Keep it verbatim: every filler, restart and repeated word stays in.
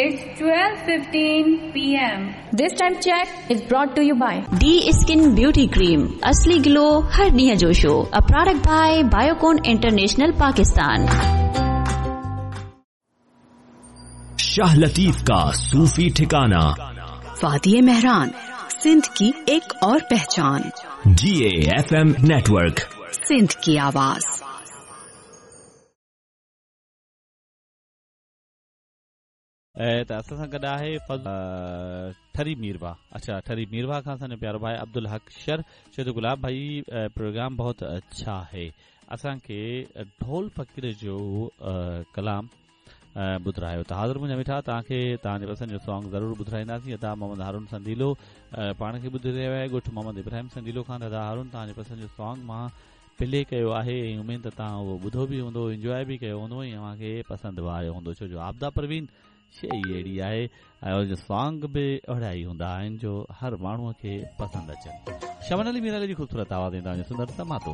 It's twelve fifteen P M. This time check is brought to you by D Skin Beauty Cream, असली glow हर ॾींहं जो show, a product by Biocon International Pakistan. Shah Latif का सूफी ठिकाना, वादी मेहरान, सिंध की एक और पहचान। G A F M network, Sindh की आवाज। ऐं त असां सां गॾु आहे ठरी मीरवा। अच्छा, ठरी मीरवा खां असांजो प्यारो भाई अब्दुल हक शर चए थो गुलाब भाई प्रोग्राम बहुत अच्छा है, असांखे ढोल फ़क़ीर जो कलाम ॿुधायो। त हाज़िर मुंहिंजा मिठा, तव्हांखे तव्हांजे पसंदि जो सॉन्ग ज़रूरु ॿुधाईंदासीं। अदा मोहम्मद हारून संदीलो पाण खे ॿुधी रहियो आहे, ॻोठु मोहम्मद इब्राहिम संदीलो खां। अदा हारून, तव्हांजे पसंदि जो सॉन्ग मां प्ले कयो आहे ऐं उमेद त तव्हां उहो ॿुधो बि हूंदो, इंजॉय बि कयो हूंदो ऐं अव्हांखे पसंदि बि आयो हूंदो, छो जो आबदा परवीन शइ अहिड़ी आहे ऐं हुनजो सॉन्ग बि अहिड़ा ई हूंदा आहिनि जो हर माण्हूअ खे पसंदि अचनि। शमन अली मीराले जी ख़ूबसूरत आवाज़ ऐं तव्हांजो सुंदर समातो।